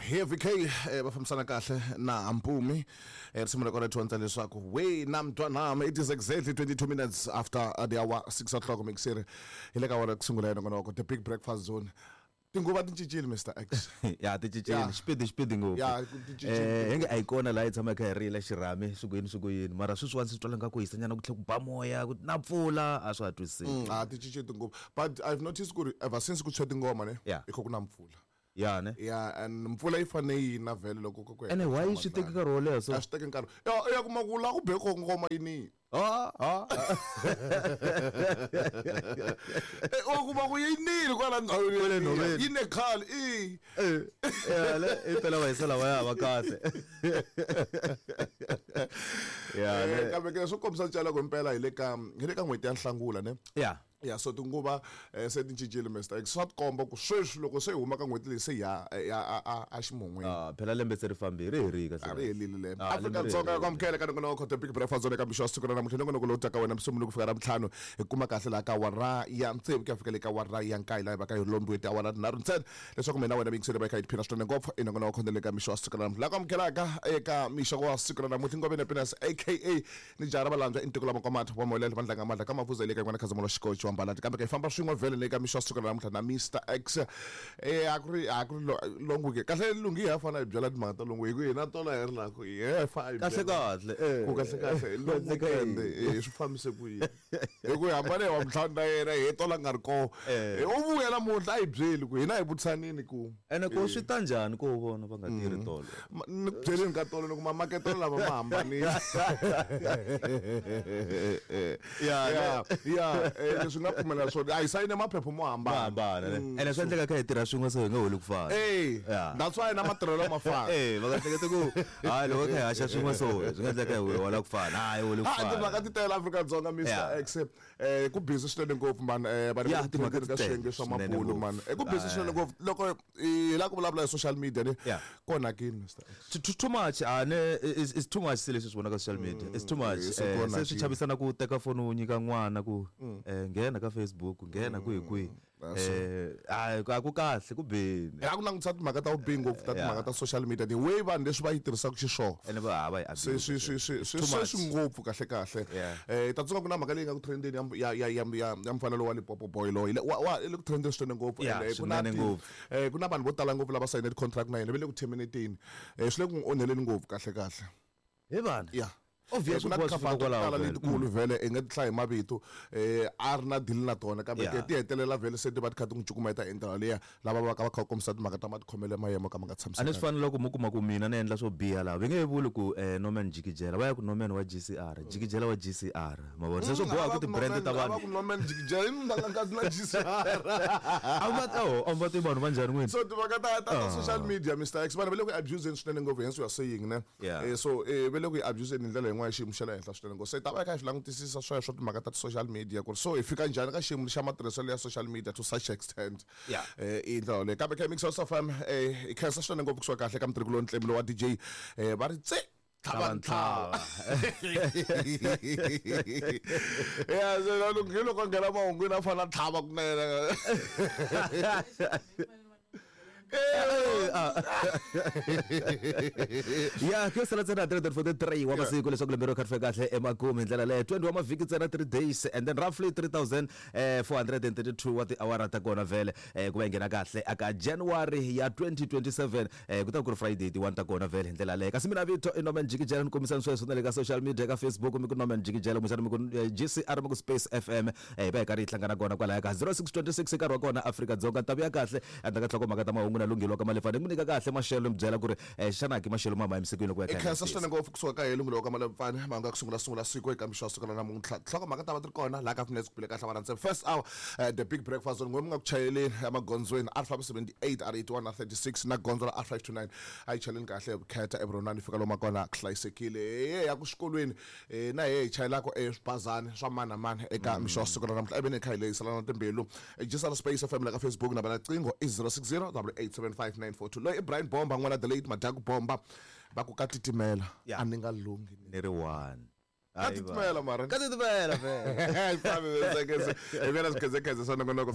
Heavy K va fambisana kahle na Mpumi. Risimu ra kona dyondza leswaku we na mntwanami. It is exactly 22 minutes after the hour 6 o'clock, mixer hi le ka wona ku sungula ya nongonoko The Big Breakfast Zone. Tinguva ti cincile, Mr X. Ya, ti cincile. Xipidi, xipidi ngopfu. Ya, ti cincile. Hi nge a yi kona laha yi tshama hi kha hi rila xirhami swi ku yini, swi ku yini, mara sweswiwani swi twala nga ku hisa nyana, ku tlhela ku ba moya, ku na mpfula, a swa ha twisiseki. A ti cincile tinguva, but I've noticed ku ri ever since ku tshwe tingoma ne i kha ku na mpfula. Ya ne. Ya, and mpfula yi fane yi na vhele loko ku Ene why swi teki nkarhi wo leha so? A swi teki nkarhi. Ya kuma ku la ku be ko ngoma yini. Ah, ah. U kuma ku yi nile kwala ndhawini. Kwale nhoveni. Yi ne khale i. Ya le, i phela va hisa lava ya va kahle. Ya le. Kambe ke swo kombisa ncala ku impela hi le ka n'hweti ya Nhlangula ne. Ya, so tinguva se ti cincile, Mr X. Swa tikomba ku sweswi loko se hi huma ka n'hweti leyi se ya ya a ximun'wini. Ah, phela lembe se ri fambile, ri herile kahle. A ri helile lembe. Ah, lembe ri Afrika-Dzonga ya herile. ku amukela ka nongonoko The Big Breakfast Zone eka mixo wa siku ra namuntlha. Nongonoko lowu taka wena Musumbunuko ku fika Ravuntlhanu, hi kuma kahle laha ka awara ya 6 ku ya fika le ka awara ya 9, laha hi va ka hi lombiwe tiawara tinharhu ntsena leswaku mina wena miyingiseri va hi kha hi tiphina swinene ngopfu i nongonoko wa le ka mixo wa siku ra namuntlha. Laha ku amukelaka eka mixo wa siku ra namuntlha Ngoveni Happiness aka ni jaha ra valandzwa i ntiko lama kwamata wa moyelelo va ndlanga mandla ka mavuza le ka yin'wana khazamula xikochi wa mbalati, kambe ka hi famba swin'we vhele le ka mixo wa siku ra namuntlha na Mr X. A ku ri long weekend kahle lunghi, ha fana hi byela timhaka ta long, hi ku hina tolo hi ri la ku ye fa hi Kahle byela. Kahle eh. Ku kahle kahle long Kahle ka weekend yini? swi fambise ku yini, hi ku hi hambane hi wa ntlhanu na yena hi tola nga ri kona. U vuya namuntlha a hi byeli ku hina hi vutisanini ku Ene ku swi ta njhani ku vona va nga tirhi tolo? Ni ku byeleni ka tolo ni ku mamaketelo lama ma hambanile. Ya, leswi nga pfumela swona, a hi sayine maphepha mo hambana. Ma hambana ne. Ene swi endleka kha hi tirha swin'we so hi nga holi ku fana. That's why na matirhelo ma fana. Va nga hleketi ku hayi loko kha hi haxa swin'we so swi nga endleka hi hola ku fana, hayi holi ku Ha, timhaka fana. ti tele Afrika-Dzonga, Mr X. Ku busy swinene ngopfu man, vanhu Ya, va le ku timhaka trendeni ka ti tele swiyenge swa swinene mabulo ngopfu. man. Ku busy swinene ngopfu loko hi lava ku vulavula hi social media ni ku onhakini, Mr X. Too, too much, ah, ne is too much se leswi swi vonaka social media. It's too much. Se ku Se onhakile. swi chavisana ku teka foni u nyika n'wana ku nghena ka Facebook, nghena kwihi kwihi. A ku kahle, ku bini. Hi ku langutisa timhaka ta vubihi ngopfu ta timhaka ta social media, the way vanhu leswi va yi tirhisaka xiswona. Ene va ha va yi Se abuse. swi Too much. se swi ngopfu kahle kahle. Ta tsundzuka ku na mhaka leyi nga ku trendeni ya mfana lowa Limpopo boy loyi wa i le ku trendeni swinene ngopfu. Yeah, And, ku na swinene ngopfu. Ku na vanhu vo tala ngopfu lava sayine ti-contract na yena va le ku terminating. Swi le ku n'wi onheleni ngopfu kahle kahle. He vana. Yeah. Obvious Ku na ku va swi fika tikhampani to kwalaho tala vhele. letikulu vhele i nga ti hlaya hi mavito, a ri na deal na tona, kambe ti hetelela vhele se ti va ti kha ti n'wi cukumeta hi ndlela liya lava va ka va kha va kombisa timhaka ta matikhomelo ma yena mo ka ma nga A ni tshamisekanga. swi fani loko mo kuma ku mina ni endla swo biha laha, va nge vuli ku Norman Jikijela, va ya ku Norman wa GCR, Jikijela wa GCR, ma vona se swo boha ku ti-brand ta A va vanhu ku Norman Jikijela i munhu a nga na GCR. A va oh, a va tivi vanhu va njhani n'wini. So timhaka ta social media, Mr X, vanhu va le ku abuseni swinene ngopfu, hence we are saying ne. So va le ku yi abuseni hi ndlela yin'wana ya xiyimo xa le henhla swinene ngopfu. Se hi ta va hi kha hi swi langutisisa sweswo timhaka ta ti-social media ku ri so hi fika njhani ka xiyimo xa matirhiselo ya social media to such extent. I ndlela yoleyo. Kambe kha hi Mix FM, hi khensa swinene ngopfu kusuka kahle ka mutirhi ntlemi lowa DJ, va ri tse tlhava ntlhava. Ya, se hi loko a nghena mahungwini a fanele a tlhava kunene. Ya, ku yo sala ntsena 343 wa masiku leswaku lembe ro kha ri fika kahle emakumu hi ndlela leyo, 20 wa mavhiki ntsena, 3 days and then roughly 3432 wa tiawara ta kona vhele ku va yi nghena kahle aka January ya 2027, ku ta ku ri Friday ti 1 ta kona vhele hi ndlela leyo. Kasi mina vito i Norman Jikijela, ni kombisani sweswo na le ka social media, ka Facebook mi ku Norman Jikijela, kumbexana mi ku GCR, mi ku Space FM, hi va hi karhi hi hlangana kona kwalaya ka 0626 nkarhi wa kona Afrika-Dzonga. Ta vuya kahle endzhaku ka nhlokomhaka ta mahungu na lunghelo wa ka Malefane, ni ku nyika kahle maxelo, ni byela ku ri xana ki maxelo ma ma yimisikwini loko ya I kha hi khensa langutisa. Swinene ngopfu kusuka ka Lunghelo wa ka Malefane, mahungu ya ku sungula sungula siku eka mixo wa siku ra namuntlha. Nhlokomhaka ta va ti ri kona laha ka Finesse ku bile kahle va rhandza first hour, The Big Breakfast Zone. N'we mi nga ku chayeleni emagondzweni R578, R81 na 36 na gondzo ra R529, a yi chaleni kahle hi vukheta eVuronani, fika lomu kona ku hlayisekile. He ya ku xikolweni, na he hi chayelaka eswibazani swa mani na mani eka mixo wa siku ra namuntlha, eveni hi kha hi lehiselana timbilu. Gisela Space FM la ka Facebook na vana qingho i 060 875 942. Loyi i Brian Bomba n'wana the late Madyaku Bomba, va ku ka titimela. A ni nga lunghi ni ri one. Ka titimela mara ka titimela vhele. Hi fambi hi vela swikhedzekhedze swa nongonoko.